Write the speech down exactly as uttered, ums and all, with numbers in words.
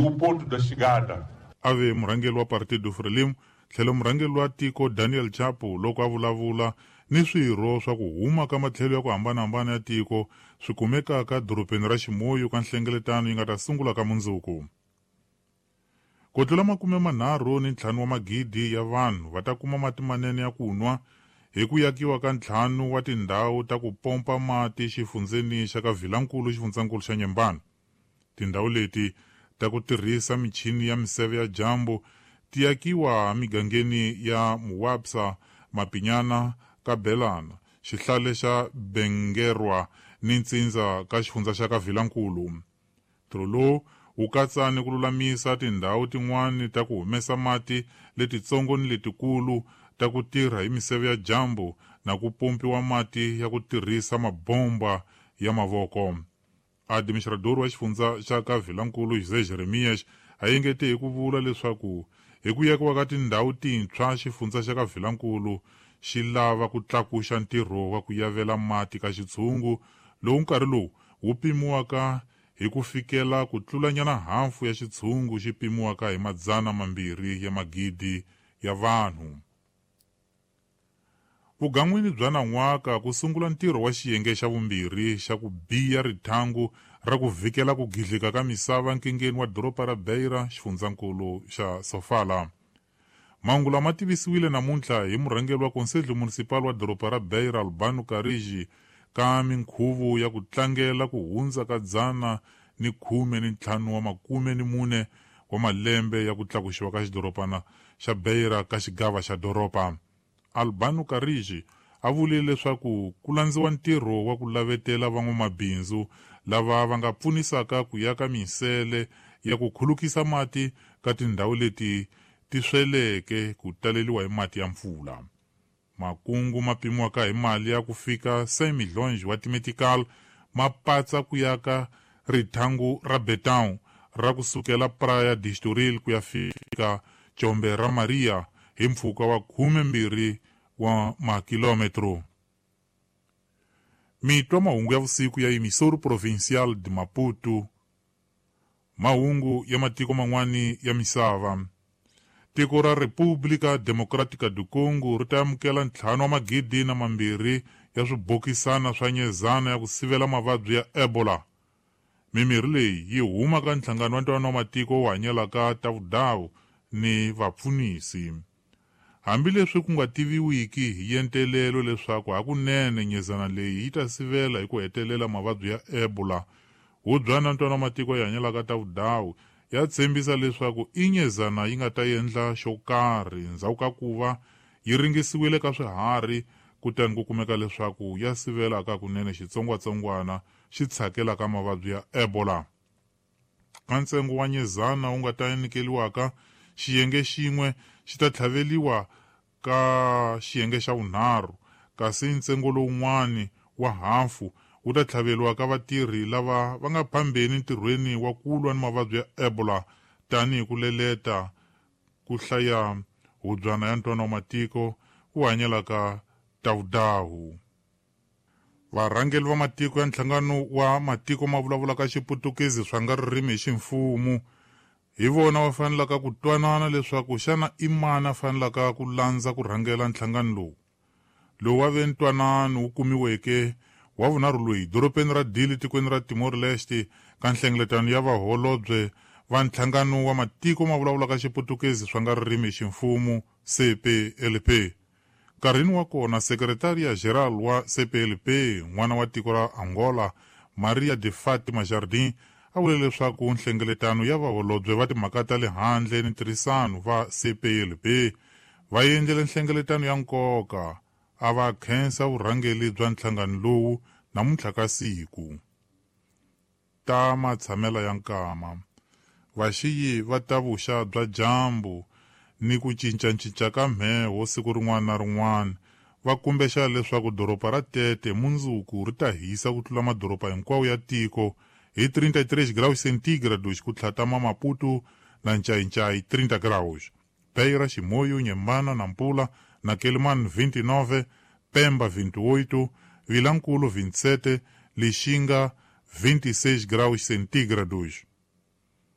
O ponto da chegada. Ave murhangeri wa Partido Frelimo tlhelo murhangeri wa tiko Daniel Chapo loko a vulavula ni swirho swa ku huma ka matlhelo ya ku hambanahambana ya tiko swi kumekaka dorobeni ra Chimoio ka nhlengeletano yi nga ta sungula ka mundzuku. Ku tlula makume manharhu ni ntlhanu wa magidi ya vanhu va ta kuma mati manene ya ku nwa hi ku yakiwa ka ntlhanu wa tindhawu ta ku pompa mati xifundzeni xa ka Vilankulu xifundzankulu xa Nyembani. Tindhawu leti ta ku tirhisa michini ya miseve ya dyambu ti yakiwa migangeni ya Muwapsa, Mapinyana, Kabelana, xihlale xa Bengerwa ni ntsindza ka xifundza xa ka Vilankulu. Ntirho lowu wu katsa ni ku lulamisa tindhawu tin'wani ta ku humesa mati letitsongo ni letikulu ta ku tirha hi miseve ya dyambu na ku pompiwa mati ya ku tirhisa mabomba ya mavoko. Administrador wa xifundza xa ka Vilankulu José Jeremias a engete hi ku vula leswaku hi ku yakiwa ka tindhawu tintshwa xifundza xa ka Vilankulu xi lava ku tlakuxa ntirho wa ku yavela mati ka xitshungu lowu nkarhi lowu wu pimiwaka hi ku fikela ku tlulanyana hafu ya xitshungu xi pimiwaka hi madzana mambirhi ya magidi ya vanhu. Vugan'wini bya nan'waka ku sungula ntirho wa xiyenge xa vumbirhi xa ku biya rithangu ra ku vhikela ku gidlika ka misava nkingeni wa doroba ra Beira xifundzankulu xa Sofala. Mahungu lama tivisiwile namuntlha hi murhangeri wa Conselho Municipal wa doroba ra Beira Albano Carigi ka minkhuvo ya ku tlangela ku hundza ka dzana ni khume ni ntlhanu wa makume ni mune wa malembe ya ku tlakuxiwa ka xidorobana xa Beira ka xigava xa doroba. Albano Carigi a vule leswaku ku landziwa ntirho wa ku lavetela van'wamabindzu lava va nga pfunisaka ku yaka minsele ya ku khulukisa mati ka tindhawu leti ti sweleke ku taleliwa hi mati ya mpfula. Makungu ma pimiwaka hi mali ya ku fika cent millions wa timetical ma patsa ku yaka rithangu ra Betão ra ku sukela Praia de Estoril ku ya fika Chombe ra Maria hi mpfhuka wa khume mbirhi wa makilometro. Mitwa mahungu ya vusiku ya Emissora Provincial de Maputo. Mahungu ya matiko man'wani ya misava. Tiko ra República Democrática do Congo ri ta amukela ntlhanu wa magidi na mambirhi ya swibokisana swa nyezana ya ku sivela mavabyi ya Ebola. Mimirhi leyi yi huma ka nhlangano wa ntwanano wa matiko wu hanyelaka ta vudawu ni vapfunisi. Hambileswi ku nga tiviwiki hi yentelelo leswaku hakunene nyezana leyi yi ta sivela hi ku hetelela mavabyi ya Ebola, hubyana ntwanano wa matiko ya hanyelaka ta vudawu ya tshembisa leswaku i nyezana yi nga ta endla xo karhi ndzhaku ka ku va yi ringisiwile ka swiharhi kutani ku kumeka leswaku ya sivela ka kunene xitsongwatsongwana xi tshakelaka mavabyi ya Ebola. Ka ntsengo wa nyezana wu nga ta nyikeliwaka, xiyenge xin'we xi ta tlhaveliwa ka xiyenge xa vunharhu, kasi ntsengo lowun'wani wa hafu wu ta tlhaveliwa ka vatirhi lava va nga phambeni ntirhweni wa ku lwa ni mavabyi ya Ebola tanihi ku leleta ku hlaya hubyana ya ntwanano wa matiko wu hanyelaka tavudawu. Varhangeri va matiko ya nhlangano wa matiko ma vulavulaka Xiputukezi swa nga ririmi hi ximfumo hi vona va fanelaka ku twanana leswaku xana i mani a fanelaka ku landza ku rhangela nhlangano lowu. Lowu wa ve ntwanano wu kumiweke wa vunharhu loyi dorobeni ra Dili tikweni ra Timor-Leste ka nhlengeletano ya vaholobye va nhlangano wa matiko ma vulavulaka Xiputukezi swa nga ririmi hi ximfumo C P L P. Nkarhini wa kona Secretaria Geral wa C P L P n'wana wa tiko ra Angola Maria de Fatima Jardim a vule leswaku nhlengeletano ya vaholobye va timhaka ta le handle ni ntirhisano va C P L P va endlele nhlengeletano ya nkoka a va khensa vurhangeri bya nhlangano lowu namuntlha ka siku. Ta matshamela ya nkama. Vaxiyi va ta vuxa bya dyambu ni ku cincacinca ka mheho siku rin'wana na rin'wana va kumbexa leswaku doroba ra Tete mundzuku ri ta hisa ku tlula madoroba hinkwawo ya tiko hi trinta e três graus centígrados ku tlhatama Maputo na Ncayincai trinta graus. Beira, Chimoio, Nhembana, Nampula na Quelimane vinte e nove, Pemba vinte e oito, Vilankulo vinte e sete, Lixinga vinte e seis graus centígrados.